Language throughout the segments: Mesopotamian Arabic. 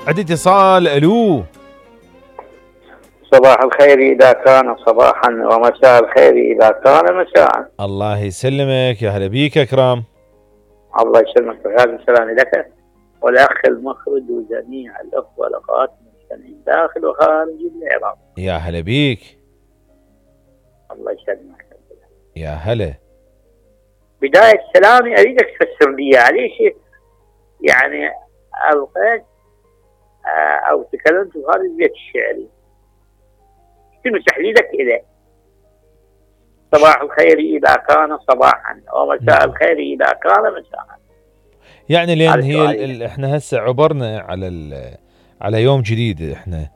عندي اتصال. الو. صباح الخير إذا كان صباحا، ومساء الخير إذا كان مساء. الله يسلمك، يا هلا بيك أكرم. الله يسلمك، وهذا سلامي لك والأخ المخرج وجميع الأخوة والأخوات المستمعين داخل وخارج العراق. يا هلا بيك. الله يسلمك. يا هلا. بداية سلامي أريدك تفسر لي عليه يعني ألقيت أو تكلمت في هذا البيت الشعري، شنو تحليلك إليه؟ صباح الخير إذا كان صباحا، ومساء الخير إذا كان مساء. يعني لأن هي احنا هسه عبرنا على يوم جديد احنا.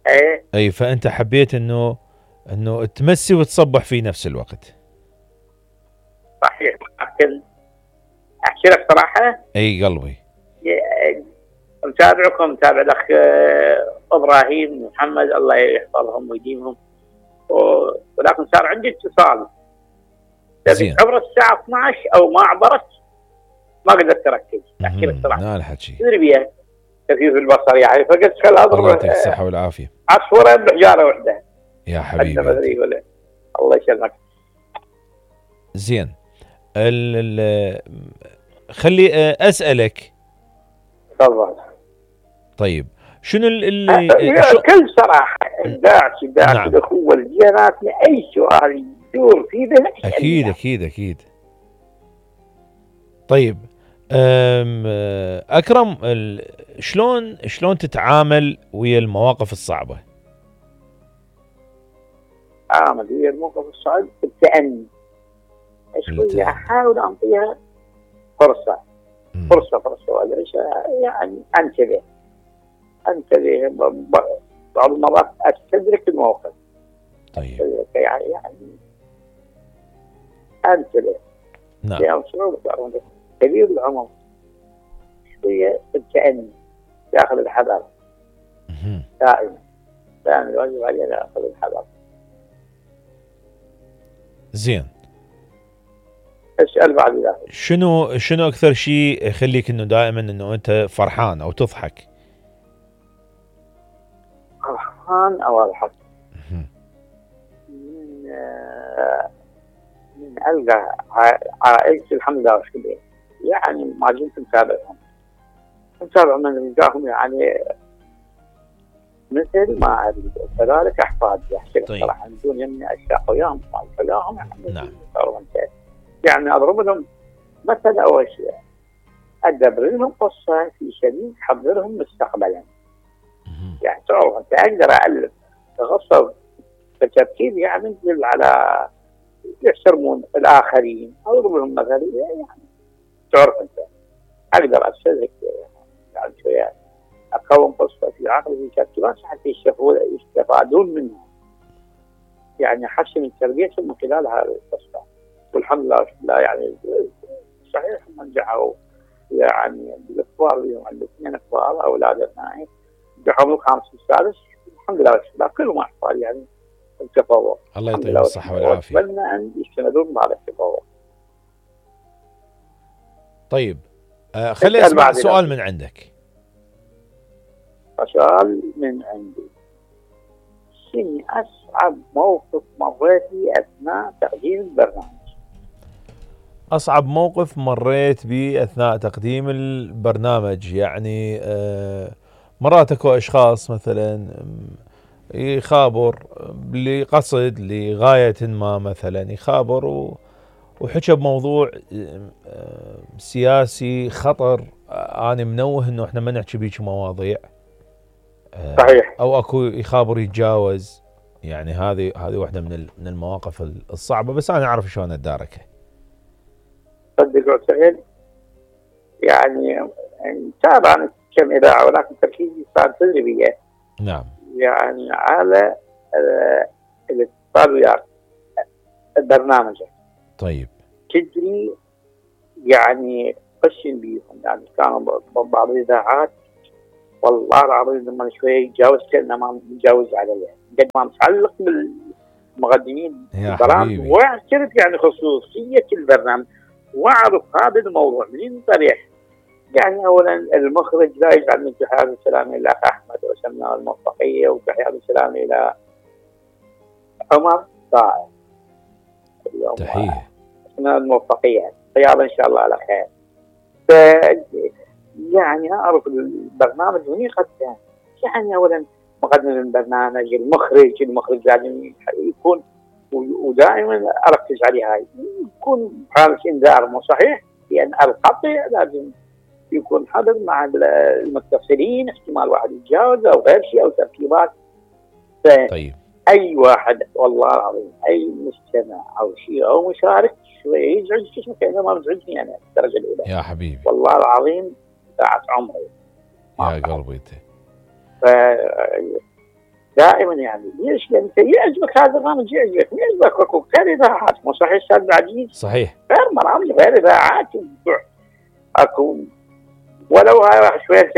ايه. اي فأنت حبيت انه تمسي وتصبح في نفس الوقت. صحيح. لكن احكي لك صراحة، اي قلبي متابعكم، متابع الاخ ابراهيم محمد، الله يحفظهم ويديمهم، ولكن صار عندي اتصال زين عبر الساعة 12 او ما عبرت، ما قدرت اركز. احكي لك صراحة لا الحكي تدري بيها خفيف البصر يعني، فقلت خل اضرب الله يعطيك الصحة والعافية. عصفورة بحجارة واحدة يا حبيبي. الله يسلمك. زين خلي اسألك. تفضل. طيب شنو بكل صراحة داعش نعم. الأخوة الجيرات أي سؤال يدور في ذهنك أكيد أكيد أكيد. طيب أكرم، شلون تتعامل ويا المواقف الصعبة؟ أعمل ويا الموقف الصعب بالتأني شوية، أحاول أعطيها فرصة يعني أنتبه بعض المرات أستدرك الموقف. طيب يعني أنتبه. نعم. يعني كبير العمر شوية بالتأني، يأخذ الحذر دائما الواجب عليه يأخذ الحذر. زين. اسأل بعد ذلك. شنو أكثر شيء يخليك إنه دائما إنه أنت فرحان أو تضحك؟ فرحان أو أضحك من ألقى عائلتي الحمد لله وشكرا، يعني ما زلت متابع من رجاهم، يعني مثل ما أريد كذلك أحفادي. أحكي صراحة بدون يمني أشياء وياهم نعم. يعني أضرب لهم مثل أول شيء، أدبر لهم قصة في سبيل تحضرهم مستقبلا. يعني تعرف أنت أقدر أألف قصة بترتيب يعني تدل على يحترمون الآخرين، أضرب لهم مثل يعني تعرف أنت أقدر أستدرك يعني شوية أكون قصة في عقلي في كتابات حتى يستفادون منها، يعني أحسن من تربيتهم من خلال هذه القصة. والحمد لله يعني صحيح نجحوا، يعني الكبار اليوم عندي 2 كبار أولاد أبنائي نجحوا من الخامس والسادس الحمد لله كلهم أحفاد يعني التفوق. الله يعطيهم الصحة والعافية. أتمنى أن يستمرون على التفوق. طيب خلي أسمع سؤال من عندك. سؤال من عندي، شنو أصعب موقف مريت به أثناء تقديم البرنامج؟ أصعب موقف مريت به أثناء تقديم البرنامج يعني مرات اكو أشخاص مثلا يخابر لقصد لغاية ما، مثلا يخابر وحكى بموضوع سياسي خطر، أنا منوه إنه إحنا ما نحكي بيك مواضيع. صحيح. أو أكو يخابر يتجاوز، يعني هذه واحدة من المواقف الصعبة، بس أنا أعرف شلون أتداركها. صدق وسهل، يعني تابع كم إذاعة ولكن تركيزي صار تدريبية. نعم. يعني على الاتصال وياك البرنامج. طيب. تدري يعني قشن بيهم، يعني كانوا بعض الإذاعات والله العظيم لما شوية يتجاوز كأنه ما متجاوز عليه، قد ما متعلق بالمقدمين البرامج، واعترف يعني خصوصية البرنامج، واعرف هذا الموضوع من صريح يعني اولا المخرج لا يجعل من تحيات السلام الى الاخ احمد وسمناه الموفقيه، وتحيات السلام الى عمر صاعد اليوم تحيه. سمناه الموفقيه رياضه ان شاء الله على خير. ف يعني اعرف البرنامج من قد يعني اولا مقدم البرنامج المخرج لازم يكون، ودائما اركز عليه هاي يكون حالة انذار مو صحيح، لان القطع لازم يكون حذر مع المتصلين، احتمال واحد يتجاوز او غير شيء او تركيبات. طيب اي واحد والله العظيم اي مستمع او شيء او مشارك شويه يزعج جسمك، كانه ما مزعجني انا الدرجه الاولى يا حبيبي والله العظيم ساعة عمري يا قلبي انت. دائما يعني ليش؟ لان يعجبك هذا البرنامج، يعجبك اكو غير اذاعات مو صحيح استاذ عزيز؟ صحيح غير برامج غير اذاعات اكو ولو هاي شويه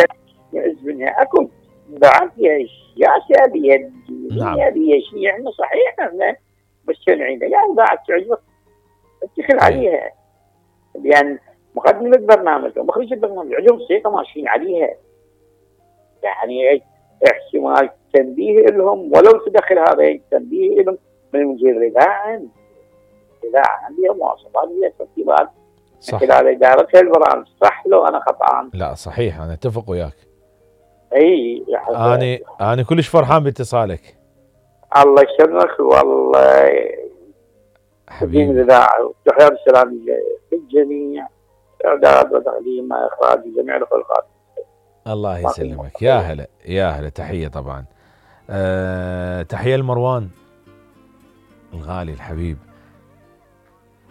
يعز منها، اكو اذاعات فيها سياسه بها دينيه بها شيء يعني صحيح احنا مستمعين يعني اذاعه تعجبك اتكل عليها، لان مقدم البرنامج ومخرج البرنامج عندهم ثقه ماشيين عليها، يعني احتمال تنبيه لهم ولو تدخل هذا تنبيه لهم من مدير الاذاعه عندها مواصفات بها ترتيبات صح خلال ادارتها البرامج. صح لو انا خطأان؟ لا صحيح انا اتفق وياك. اي انا كلش فرحان باتصالك. الله يسلمك والله حبيبي الاذاعه وتحيات السلام للجميع، اعداد وتقديم اخراج جميع الخلقات. الله يسلمك. يا هلا يا هلا. تحيه طبعا. تحيه لمروان الغالي الحبيب.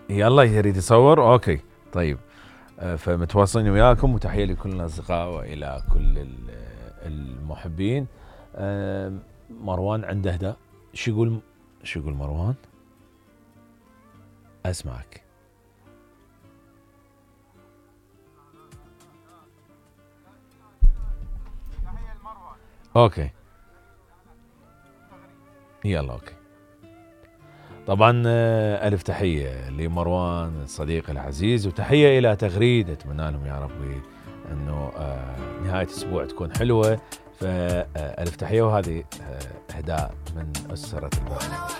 يلا يريد يصور اوكي طيب. فمتواصلين وياكم، وتحيه لكل الاصدقاء والى كل المحبين. مروان عنده اهداء. شو يقول مروان؟ اسمعك. اوكي يلا اوكي. طبعا الف تحيه لمروان الصديق العزيز، وتحيه الى تغريد. اتمنى لهم يا ربي انه نهايه اسبوع تكون حلوه. فالف تحيه، وهذه اهداء من اسره البرنامج.